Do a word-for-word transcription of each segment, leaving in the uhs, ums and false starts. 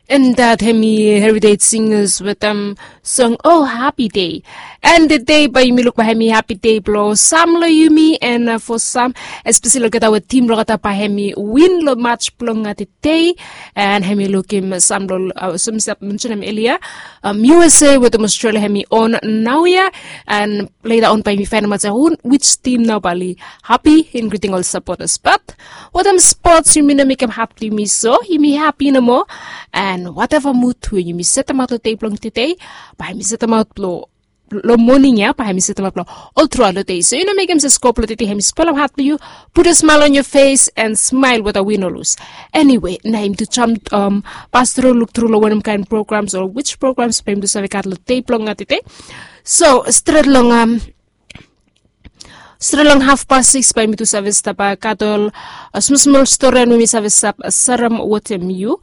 And that hemi Heritage Singers wetem song Oh Happy Day. And today bae yumi luk bae hemi happy day blong sam long yumi, and uh, for sam, especially olgeta we tim blong olgeta bae hemi win long match blong uh, today. And hemi lukim sam long uh, so mi stap mentionem earlier. Um, U S A wetem Australia hemi on naoia, and later on bae yumi faenemaot se hu, which team nao bae oli happy, including ol supporters. But wetem sports yumi no mekem hat blong yumi, so yumi happy nomo. And whatever mood we yumi setemaot long dei blong today, bae yumi setemaot long long moning ya, bae hemi setemaot long ol truaot long dei. So yu no mekem se skul blong today hemi spolem hat blong yu. Putum smael on yo fes and smael weda win o lus. Anyway, nao yumi tu jam, um, pas tru, luk tru long wanem kaen programs o which programs bae yumi tu save gat long dei blong uh, today. So stret long um, stret long hafpas sikis bae yumi tu save stap uh, gat ol uh, smosmol storian we mi save stap uh, serem wetem yu.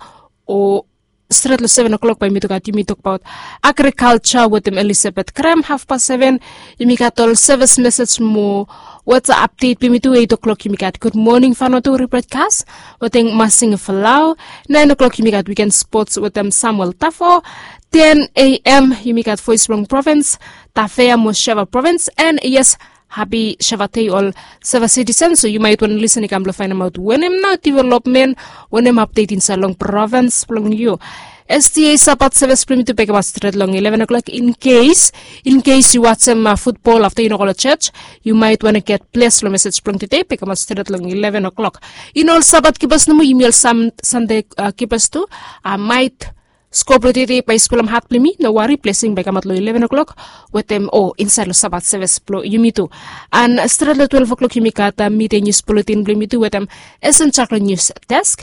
O stret long seven o'clock bae yumi tu gat, yumi tokbaot agriculture wetem Elizabeth Graham. Hafpas seven yumi gat ol service message mo weather update blong yumi tu. Eight o'clock yumi gat Good Morning Vanuatu rebroadcast wetem Masing Falau. Nine o'clock yumi gat weekend sports wetem Samuel Tafo. Ten a.m. yumi gat Voice blong Province, Tafea mo Sheva Province. And yes, hapi Sheva Dei ol Sheva citizen. So yu maet wantem lisen i kam blong faenemaot wanem nao development, wanem update insaed long province blong yu. S D A Sabat service blong yumi tu bae i kamaot stret long eleven o'clock. In case, in case yu wajem uh, football afta yu no go long church, yu maet wantem get bles long message blong today, bae i kamaot stret long eleven o'clock. Yu no ol Sabat kipas nomo, yumi ol Sunday uh, kipas tu, uh, maet skul blong today bae i spolem hat blong yumi. No wari, blesing bae i kamaot long eleven o'clock wetem, o, insaed long Sabat service blong yumi tu. And stret long twelve o'clock yumi gat uh, midday news bulletin blong yumi tu wetem Esen Chaklo news desk.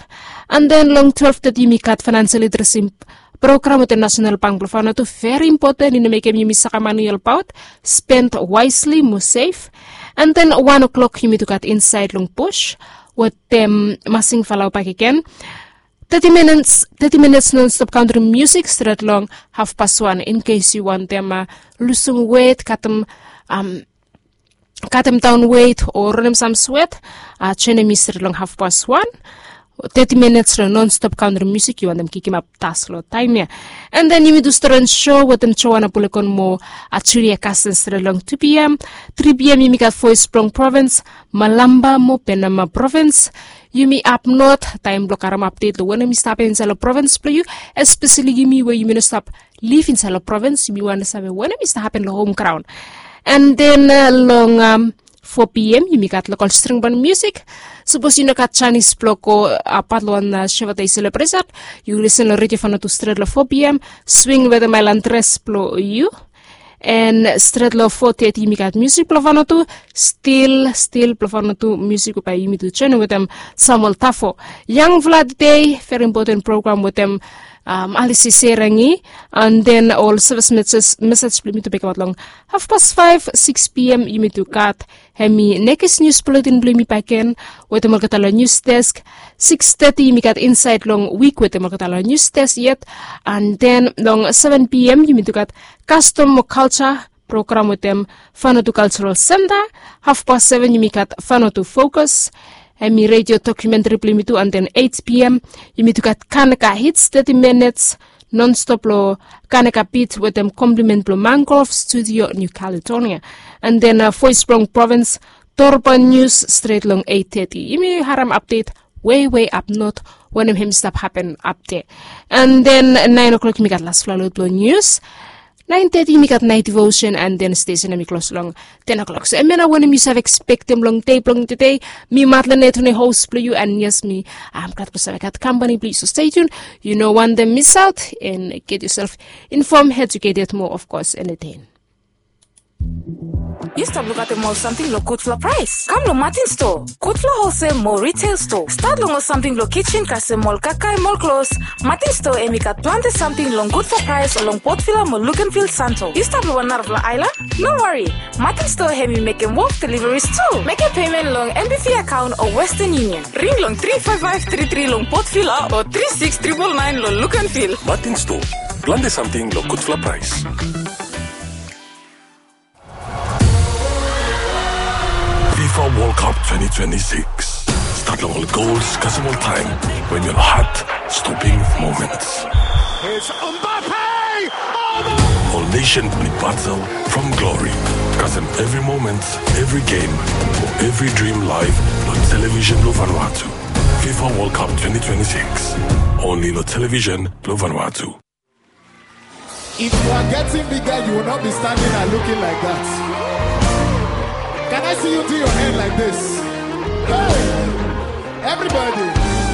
And then long twelve thirty yumi gat financial literacy program wetem National Bank blong Vanuatu. Very important, i no mekem yumi sakamani olbaot. Spend wisely, mo save. And then one o'clock yumi tu gat Insaed long Bush wetem Masing Falau bakegen. Thirty minutes, thirty minutes non-stop country music stret long hafpas wan. In case yu wantem uh, lusum wet, katem, um, katem daon wet o ranem sam swet, uh, joenem mi stret long hafpas wan. Thirty minutes long non-stop country music, yu wantem kikimap tas long taem ya. And then yumi tu stret long show wetem Joanna Bulekon mo uh, Julia Carson stret long two p.m. Three p.m. yumi gat Voice blong Province, Malamba mo Penama Province. Yumi apnot taem blong karem update long wanem i stap hapen insaed long province blong yu, especially yumi we yumi no stap liv insaed long province, yumi wantem save wanem i stap hapen long home ground. And then uh, long um, four p.m. yumi gat local string band music. Sapos yu no gat janis blong go uh, pat long wan uh, Sheva Dei celebration, yu lisen long Radio Vanuatu stret long four p.m. Swing wetem Island Dress blong yu. And stret long four thirty yumi gat music blong Vanuatu. Stil, stil blong Vanuatu music we bae yumi tu joenem wetem Samuel Tafo. Yangfala Today, very important program wetem um, Alice Serangi. And then ol service message, message blong yumi tu bae i kamaot long hafpas faef. Six p.m. yumi tu gat hemi nekis news bulletin blong yumi bakegen wetem olgeta long news desk. Six thirty yumi gat Insaed long Wik wetem olgeta long news desk yet. And then long seven p.m. yumi tu gat Custom mo Culture program wetem Vanuatu Cultural Center. Hafpas seven yumi gat Vanuatu Focus, hemi radio documentary blong yumi tu. And then eight p.m. yumi tu gat Kanaka Hits, thirty minutes non-stop long Kanaka Beat wetem compliment blong Mangrove Studio, New Caledonia. And then uh, Voice blong Province, Dorban News stret long eight thirty. Yumi harem update wei wei apnot wanem hemi stap hapen apde. And then nine o'clock yumi gat lasfala lod blong news. Nine thirty yumi gat night devotion, and then station hemi klos long ten o'clock. So hemia nao wanem yu save ekspektem long dei blong today. Mi Madeline Etune, host blong yu, and yes, mi, um, glad blong save gat kampani blong yu. So stay tuned. Yu no wantem misaot, and get yourself informed, educated mo, of course, entertained. Yu stap lukaotem ol samting long gudfala praes? Kam long Martin Store. Gudfala wholesale mo retail store. Stat long ol samting blong kitchen kasem ol kakae mo ol klos. Martin Store hemi gat plante samting long gudfala praes long Port Vila mo Luganville, Santo. Yu stap long wan narafala aelan? No wari. Martin Store hemi mekem wok deliveries tu. Mekem pemen long N B V akaon o Western Union. Ring long tri five five tri tri long Port Vila o tri six triple nine long Luganville. Martin Store. Plante samting long gudfala praes. FIFA World Cup twenty twenty-six. Stat long ol gols kasem ol taem wen yu hat stopping moments. Nation boni battle from glory. Kasem every moment, every game, for every dream live lo television blo Vanuatu. FIFA World Cup twenty twenty-six. Only lo television blo Vanuatu. If you are getting bigger, you will not be standing and looking like that. Can I see you do your hand like this? Hey! Everybody.